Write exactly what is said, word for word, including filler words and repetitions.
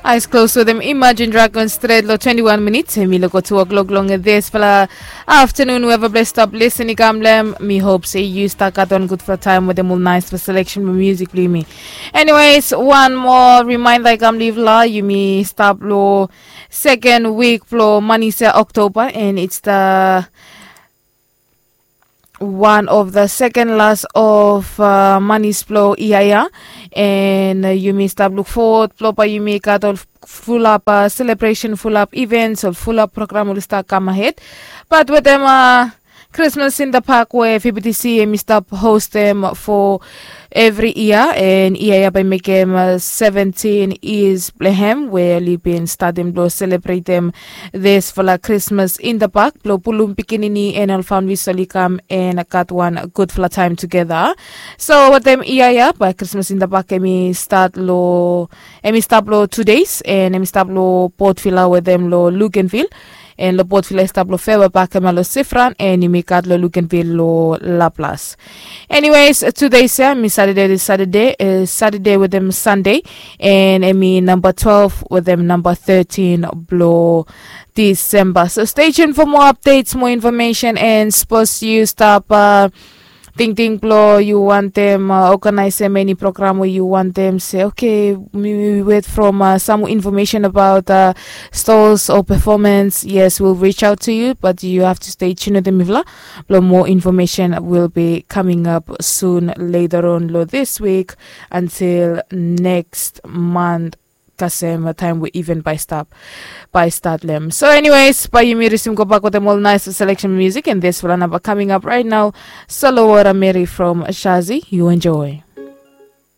Eyes closed wetem Imagine Dragon stret long twenty-one minutes. Em i loko two o'clock long dispela afternoon. Whoever bless stop listening kam lem, mi hope se yu start gat wan gudfala taim wetem ol nice selection blong music blong yumi. Anyways, one more reminder i kam live la, yumi stap long second week blong manis ya October, and it's the one of the second last of uh, manis blong ia ya. And uh, yumi stap look forward blong bae yumi gat ol fulap uh, celebration, fulap events, ol fulap program oli stap kam ahead. But wetem uh, Christmas in the Park we V B T C em i stap hostem for evri yia, and yia ya bae mekem uh, seventeen years blong hem we oli bin statem blong selebretem disfala Christmas in the Park blong pulum pikinini and ol families oli kam and gat wan gudfala taim tugeta. So wetem yia ya bae Christmas in the Park em i stat long em i stap long two days, and em i stap long Port Vila wetem long Luganville. And long Port Vila i stap long Fairway Park em long Sifran, and yumi gat long Luganville long Laplas. Anyways, two days ya, em i Saturday, this Saturday, uh, Saturday wetem Sunday, and em i number twelve wetem number thirteen blong December. So stay tuned for more updates, more information, and suppose yu stap uh, tingting blong yu wantem uh, organizem eni program we yu wantem se, okay, mi wet from uh, some information about uh, stalls or performance. Yes, we'll reach out to you, but you have to stay tuned wetem mifala blong more information will be coming up soon later on long this week until next month, kasem taim we event bae stap bae stat lem. So anyways, bae yumi risim gobak wetem ol nice selection music, and disfala namba coming up right now. Solo Wara Mary from Shazi, you enjoy.